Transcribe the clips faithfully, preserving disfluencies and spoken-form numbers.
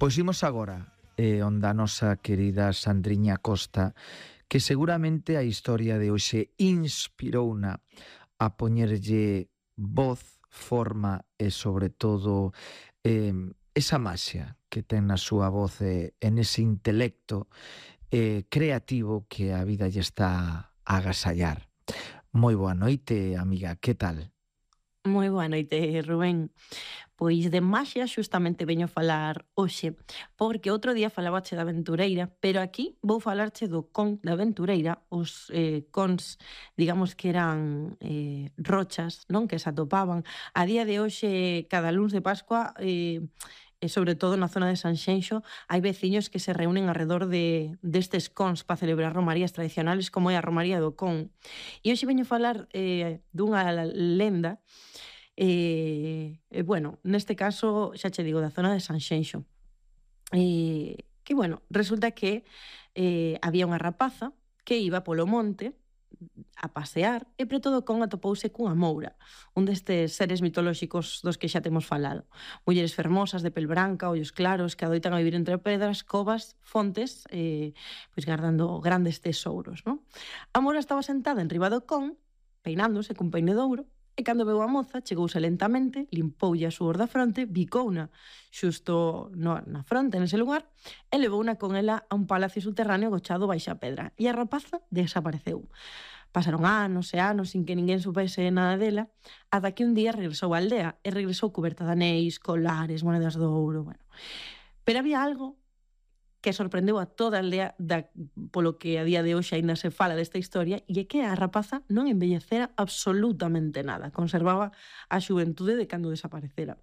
Pois imos agora eh, onde a nosa querida Sandriña Costa, que seguramente a historia de hoxe inspirouna a poñerlle voz, forma e sobre todo eh, esa maxia que ten na súa voz e eh, en ese intelecto eh, creativo que a vida lle está a agasallar. Moi boa noite, amiga, que tal? Moi boa noite, Rubén. Pois de maxia xustamente veño falar hoxe, porque outro día falabache da aventureira, pero aquí vou falarche do con da aventureira, os eh, cons, digamos que eran eh, rochas, non, que se atopaban. A día de hoxe, cada luns de Pascua, eh, e sobre todo na zona de Sanxenxo, hai veciños que se reúnen alrededor de destes cons para celebrar romarías tradicionales como é a Romaría do Con. E hoxe veño falar eh, dunha lenda. E, e bueno, neste caso, xa che digo, da zona de Sanxenxo. E, que, bueno, resulta que eh, había unha rapaza que iba polo monte a pasear e preto do con atopouse cunha moura, un destes seres mitolóxicos dos que xa temos falado. Mulleres fermosas, de pel branca, ollos claros, que adoitan a vivir entre pedras, covas, fontes, eh, pois guardando grandes tesouros, non? A moura estaba sentada en riba do con, peinándose cun peine de ouro, e cando veu a moza, chegouse lentamente, limpoulle a suor da fronte, bicouna xusto no, na fronte, nese lugar, e levouna con ela a un palacio subterráneo gochado baixa a pedra. E a rapaza desapareceu. Pasaron anos e anos sin que ninguén supese nada dela, ata que un día regresou á aldea, e regresou cuberta de anéis, colares, monedas de ouro, bueno. Pero había algo que sorprendeu a toda a aldea da, polo que a día de hoxe aínda se fala desta historia, e é que a rapaza non envellecera absolutamente nada, conservaba a xuventude de cando desaparecera.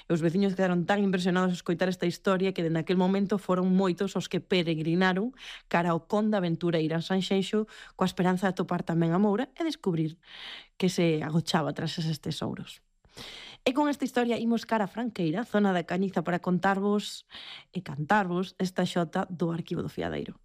E os veciños quedaron tan impresionados a escoitar esta historia que dende aquel momento foron moitos os que peregrinaron cara ao con da aventureira en Sanxenxo coa esperanza de atopar tamén a moura e descubrir que se agochaba tras eses tesouros. E con esta historia imos cara a Franqueira, zona da Cañiza, para contarvos e cantarvos esta xota do Arquivo do Fiadeiro.